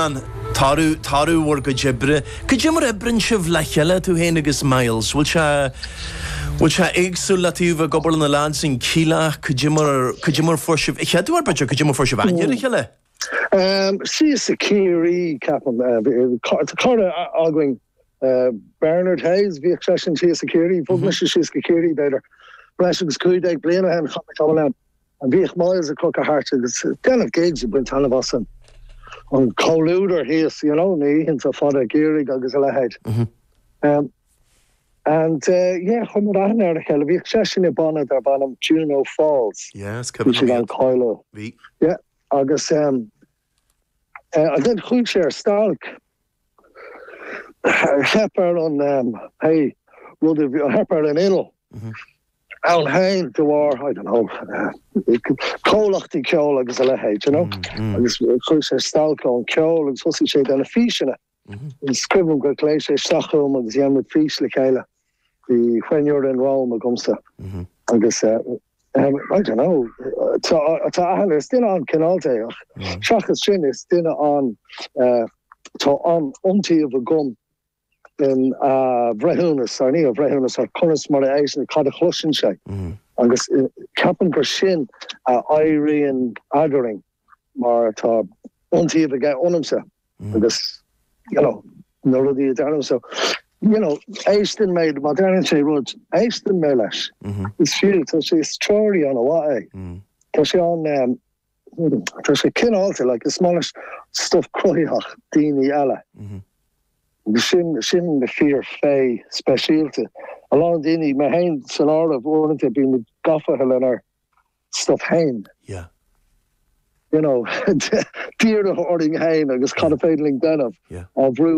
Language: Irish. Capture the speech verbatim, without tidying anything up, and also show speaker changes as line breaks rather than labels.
Rónán, toradh toradh bhur gcuid oibre. Cad é mar oibríonn sibh le chéile tú féin agus Myles, bhfuil sé bhfuil sé éagsúil le taobh ag obair na lads in Kíla, cad é mar cad é mar fuair sibh cheadú b'fhéidir cad é mar fuair sibh aithne ar a chéile?
Um, Síos i Ciarraí ceapaim uh, cara againn uh, Bernard Hayes bhíodh seisean síos i Ciarraí, bhog mise síos go Ciarraí b'fhéidir. Breis agus cúig déag bliain ó shin chaith mé an bhíodh Myles ag crochadh thart agus déanamh gigs ag baint taitneamh as an an comhluadar thíos you know, na hoícheanta fada geimhridh agus a leithéid.
Mm -hmm.
Um, and uh, yeah, chuir muid aithne ar a chéile bhíodh seisean i banna darb ainm Juno Falls.
Yes,
Bhí siad an cáiliúil.
Bhí.
Yeah, agus um, uh, and then chuaigh sé ar stailc theip ar an um, hey, rud a bhí- theip ar an inneall.
Mhm.
Ann féin de bharr I don't know uh, comhlachtaí ceoil agus a leithéid, you know?
Mm,
agus chuaigh sé stailc ón ceol agus thosaigh sé déanamh físeanna.
Mhm.
Is cuimhin gur ghlaoigh sé isteach chugam agus dhein muid fís le chéile. Bhí When You're in Rome agamsa.
Mhm.
agus uh, um, I don't know uh, tá tá aithne is duine an-chineálta é ach
Mm.
seachas sin is duine an uh, tá an iontaoibh agam in uh, bhreithiúnas ar ní a bhreithiúnas ar conas mar a éisteann cad a chloiseann sé
Mm.
agus uh, ceapaim gur sin a éiríonn eadrainn mar tá iontaoibh aige ionamsa
Mm.
agus you know na rudaí a deirim so you know éisteann mé má deireann sé rud éisteann mé leis
Mhm.
is fiú tá sé is treoraí an-mhaith é
Mm.
Tá sé an um, tá sé cineálta like, is maith leis stuff cruthaitheach daoine eile
Mhm.
Agus sin sin na fíor fé speisialta a lán daoine mé féin san áireamh uaireanta bíonn gafa lenár stuff féin
Yeah.
you know dírithe orainn féin agus cad is féidir linn déanamh
Yeah.
á bhrú